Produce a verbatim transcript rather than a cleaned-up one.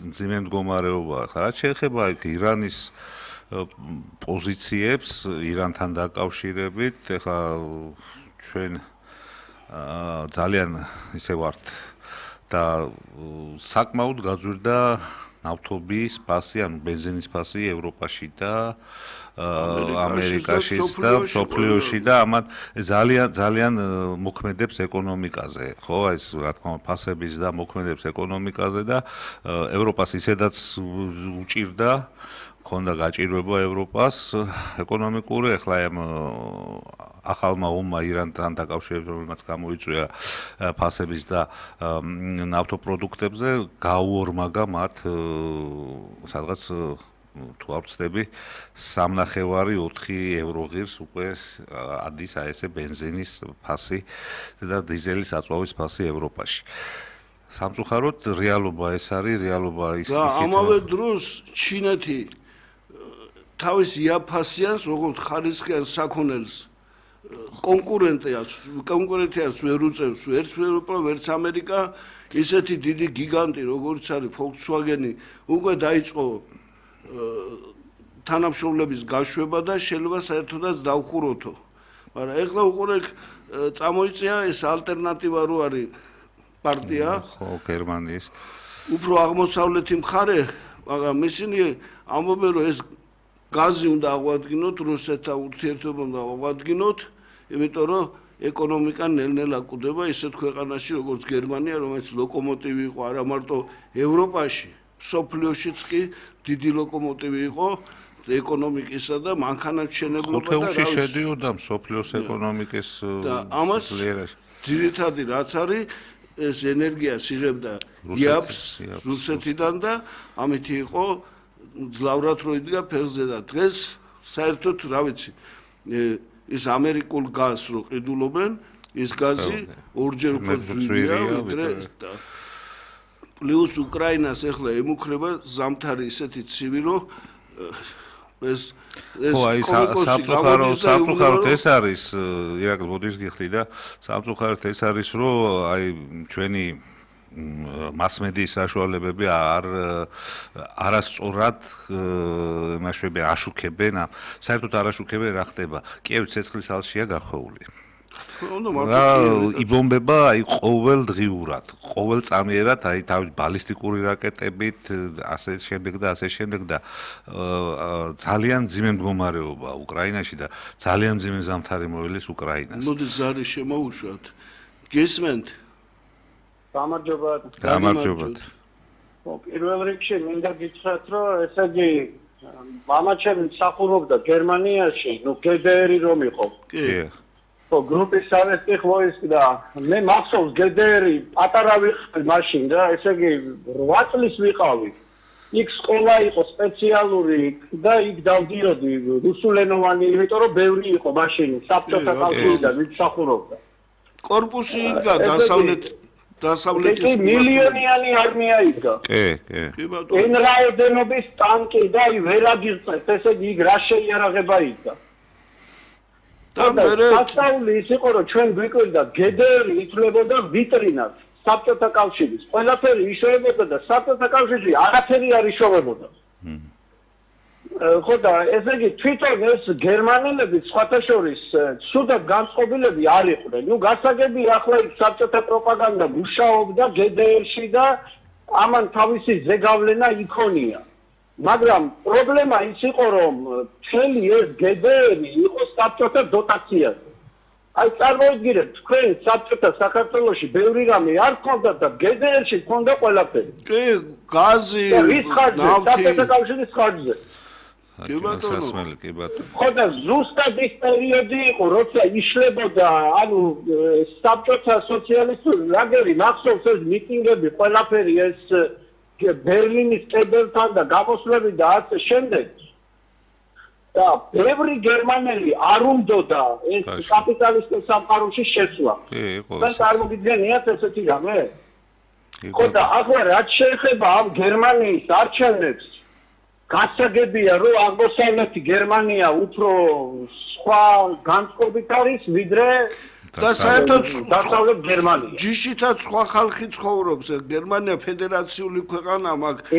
მძიმე მდგომარეობაა. ხა რაც შეეხება იქ ირანის პოზიციებს ირანთან დაკავშირებით, ეხლა ჩვენ ძალიან ისე ვართ და საკმაოდ გაძვირდა ნავთობის ფასი, ანუ ბენზინის ფასი ევროპაში და ამერიკაშიც და მსოფლიოში და ამათ ძალიან ძალიან მოქმედებს ეკონომიკაზე, ხო, ეს რა თქმა უნდა ფასების და მოქმედებს ეკონომიკაზე და ევროპას ისედაც უჭირდა ქონდა გაჭირვება ევროპას ეკონომიკური, ახლა ამ ახალმა ომმა ირანთან დაკავშირებით, რომელმაც გამოიწვია ფასების და ნავთობპროდუქტებზე, გაუორმაგა მათ სადღაც თუ არ ვცდები სამნახევარი ოთხი ევრო ღირს უკვე ადის აი ესე ბენზინის ფასი და დიზელის აწვავის ფასი ევროპაში. სამწუხაროდ რეალობა ეს არის, რეალობა ის და ამავე დროს ჩინეთი თავის იაფასიანს როგორც ხარისხიან საქონელს კონკურენტიას კონკურენტიას ვერ უწევს ვერც ევროპა, ვერც ამერიკა, ისეთი დიდი გიგანტი როგორც არის Volkswagen-ი უკვე დაიწყო თანამშრომლების გაშვება და შეიძლება საერთოდაც დავხუროთო. მაგრამ ეხლა უყურე წამოიწია ეს ალტერნატივა რო არის პარტია, ხო, გერმანიის. უფრო აღმოსავლეთი მხარე, მაგრამ ისინი ამბობენ რომ ეს გაზი უნდა აღვადგინოთ, რუსეთთან ურთიერთობა უნდა აღვადგინოთ, იმიტომ რომ ეკონომიკა ნელ-ნელა კვდება ისეთ ქვეყანაში როგორც გერმანია, რომელიც ლოკომოტივი იყო არა მარტო ევროპაში, მსოფლიოშიც კი დიდი ლოკომოტივი იყო ეკონომიკისა და მანქანათმშენებლობა და ხუთეულში შედიოდა მსოფლიოს ეკონომიკის ლიერაში. ძირითადი რაც არის ეს ენერგიას იღებდა იაფს რუსეთიდან და ამით იყო ძლავრად რო იდგა ფეხზე და დღეს საერთოდ რა ვიცი ის ამერიკულ გაზს რო ყიდულობენ ის გაზი ორჯერ უფრო ძვირია ვიდრე პლუს უკრაინას ახლა ემუქრება ზამთარი ისეთი ცივი რომ ეს ეს ხო აი სამწუხაროდ სამწუხაროდ ეს არის ირაკლი მოდის გიხდი და სამწუხაროდ ეს არის რომ აი ჩვენი მასმედიის საშუალებები არ არასწორად იმაშვები აშუქებენ საერთოდ არ აშუქებენ რა ხდება კიევი ცეცხლის ალშია გახვეული იბომბება აი ყოველ დღიურად ყოველ წამიერად აი თავი ბალისტიკური რაკეტებით ასე შემდეგ და ასე შემდეგ და ძალიან მძიმე მდგომარეობა უკრაინაში და ძალიან მძიმე ზამთარი მოელის უკრაინას მოდი ზარი შემოუშვათ გესმენთ გამარჯობა გამარჯობა პირველ რიგში მინდა გითხრათ რომ ესე იგი მამაჩემი მსახურობდა გერმანიაში ნუ გდრ რომ იყო კი ხო გრუპის სავესტი ხოვის და მე მახსოვს გდრ პატარა ვიყავი მაშინ და ესე იგი რვა წლის ვიყავი იქ სკოლა იყო სპეციალური და იქ დავდიოდი რუსულენოვანი იმიტომ რომ ბევრი იყო მაშინ საბჭოთა კავშირიდან ვინც მსახურობდა კორპუსი იდგა დასავლეთ დასავლეთის კი მილიონიანი არმია იდგა კი კი კი ბატონო ეს რაოდენობის ტანკი და ვერაგიღწევთ ესე იგი იქ რა შეიარაღება იდგა და სასწაული ის იყო რომ ჩვენ გვიკვირდა გდრ ითვლებოდა ვიტრინად საბჭოთა კავშირის ყველაფერი იშოვებოდა და საბჭოთა კავშირში არაფერი არ იშოვებოდა ხო და ესე იგი თვითონ ეს გერმანელები სხვათა შორის სუდად განწყობილები არ იყვნენ ნუ გასაგები ახლა იქ საბჭოთა პროპაგანდა მუშაობდა გდრ-ში და ამან თავისი ზეგავლენა იქონია მაგრამ პრობლემა ის იყო რომ მთელი ეს გდრ იყო საბჭოთა დოტაციაზე აი წარმოიდგინეთ თქვენ საბჭოთა საქართველოში ბევრი რამე არ ქონდა და გდრ-ში ქონდა ყველაფერი კი გაზი ნავთი საბჭოთა კავშირის ხარჯზე კი ბატონო კი ბატონო ხო და ზუსტად ის პერიოდი იყო როცა იშლებოდა ანუ საბჭოთა სოციალისტური ლაგერი მახსოვს ეს მიტინგები ყველაფერი ეს ბერლინის კედელთან და გამოსვლები და ასე შემდეგ და ბევრი გერმანელი არ უნდოდა ეს კაპიტალისტურ სამყაროში შესვლა კი იყო და წარმოგიდგენიათ ესეთი რამე ხო და ახლა რაც შეეხება ამ გერმანიის არჩევნებს გასაგებია რომ აღმოსავლეთი გერმანია უფრო სხვა განწყობით არის ვიდრე და საერთოდ დასავლეთ გერმანია ჯიშითაც სხვა ხალხი ცხოვრობს გერმანია ფედერაციული ქვეყანა მაგ